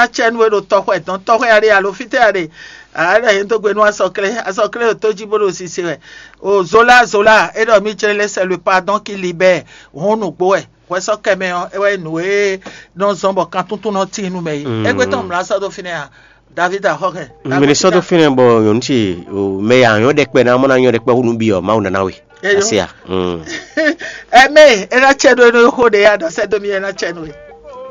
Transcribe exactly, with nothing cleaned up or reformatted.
Acɛnu e ɖo tɔxwɛ dɔn tɔxwɛ aɖe alo fítɛ́ aɖe. Aɖe yě dó gbe nú asɔklé, asɔklé ɖo tó jí bó ɖo sise wɛ. O Zola, Zola, é ɖɔ mí jlɛ́ lɛ́ sɛ le pardon qui libère. Hɔn nǔgbó wɛ. Hwɛ sɔ́ kɛ mɛ ɔ́, é wɛ nyí nǔ e nɔ zɔn bɔ kan tuntun nɔ tín nú mɛ é. Égbé tɔn mlá sɔ́ dó fínɛ́ a? David axɔ́kɛ. Mɛ ní sɔ́ dó fínɛ́ bɔ nyɔ̌nu ce mɛ ya nyɔ́ ɖɛkpɛ ná mɔ ná nyɔ́ ɖɛkpɛ hú nú byɔ́ Mawu nana we. Asi a? Ɛmɛ, é ná cɛ ɖó é nɔ xó ɖe ya ɖɔ sɛ́ dó mì é ná cɛ nú we.